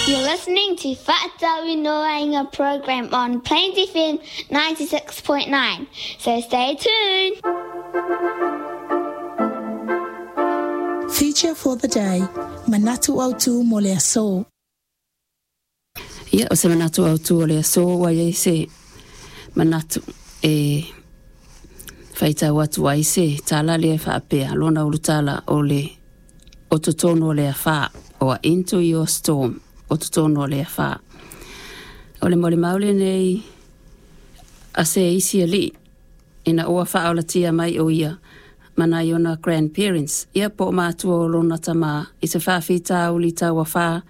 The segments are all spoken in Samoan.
You're listening to Fa'atauinoaina program on Plains FM 96.9. So stay tuned. Feature for the day, Manatu Autu mo le aso. Ia, o se manatu autu o le aso ua i ai se manatu e faitau atu ai se tala lea e faapea, lona ulutala o le o totonu o le afa, o Into Your Storm, o totonu o le afa. O le molimau lenei a se isi alii ina ua faaolatia mai o ia ma nai ona grandparents, ia po o matua o lona tamā i se faafitauli tauafa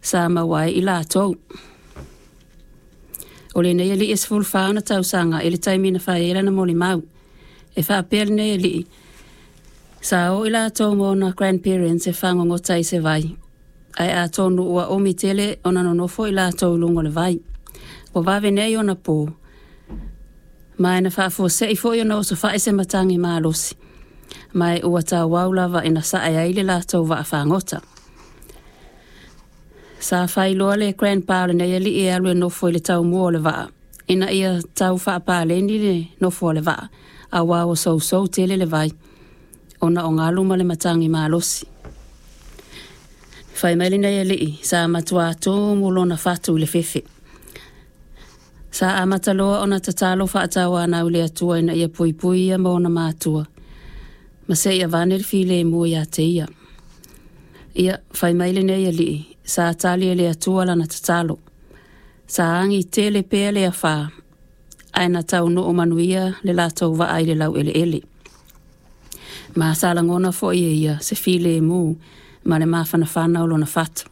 sa maua ai i latou. O lenei alii e 14 ona tausaga i le taimi na fai ai lana molimau. E faapea lenei alii, sa o i latou ma ona grandparents e fagogota i se vai, ae atonu ua umi tele ona nonofo i latou i luga o le vai. Ua vave nei ona po, ma e na faafuasei foi ona osofai se matagi malosi, ma e ua tauau lava ina sae ai le latou vaafagota. Sa failoa le grandpa o lenei alii e alu e nofo i le taumua o le vaa, ina ia tau faapaleni le nofo a le vaa, auā ua sousou tele le vai, ona o galu ma le matagi malosi. Fai mai lenei alii, sa matuā tumu lona fatu i le fefe. Sa amata loa ona tatalo faatauanau i le Atua ina ia puipui ia ma ona matua, ma se i avane le filemu ia te ia. Ia, fai mai lenei alii, sa tali e le Atua lana tatalo. Sa agi tele pea le afa, ae na taunuu manuia le latou vaa i le laueleele. Ma sa lagona foi e ia se filemu ma le mafanafana o lona fatu.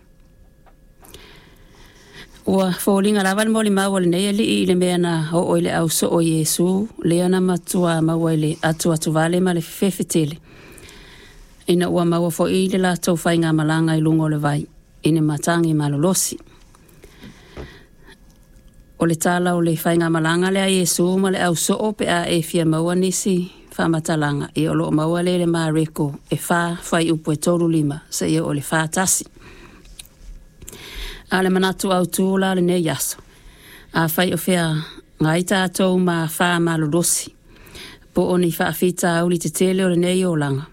Ua foliga lava le molimau a lenei alii i le mea na oo i le ausoo o Iesu, lea na matuā maua i le atuatuvale ma le fefefe tele, ina ua maua foi le latou faigamalaga i luga o le vai i ni matagi malolosi. O le tala o le faigamalaga lea a Iesu ma le ausoo pe a e fia maua nisi faamatalaga, ia o lo o maua lea i le Mareko e 4 fuaiupu e 35 seia oo i le 41. A o le manatu autu la o lenei aso, afai o feagai tatou ma afa malolosi, po o ni faafitauli tetele o lenei olaga,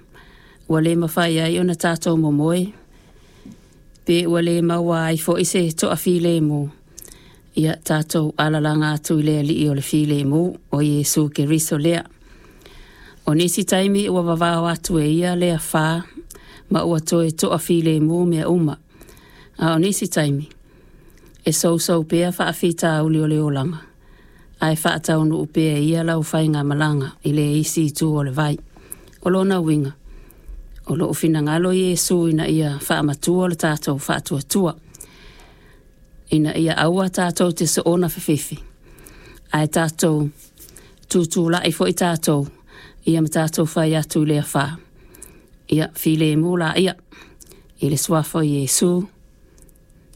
ua le mafai ai ona tatou momoe, pe ua le maua ai foi se toafilemu, ia tatou alalaga atu i le Alii o le filemu, o Iesu Keriso lea. O nisi taimi ua vavao atu e ia le afa ma ua toe toafilemu mea uma, a o nisi taimi e sousou pea faafitauli o le olaga, ae faataunuu pea e ia lau faigamalaga i le isi itu o le vai. O lona uiga, o loo finagalo Iesu ina ia faamatua le tatou faatuatua, ina ia aua tatou te soona fefefe, ae tatou tutulai foi tatou ia ma tatou fai atu i le afa. Ia filemu laia i le suafa o Iesu.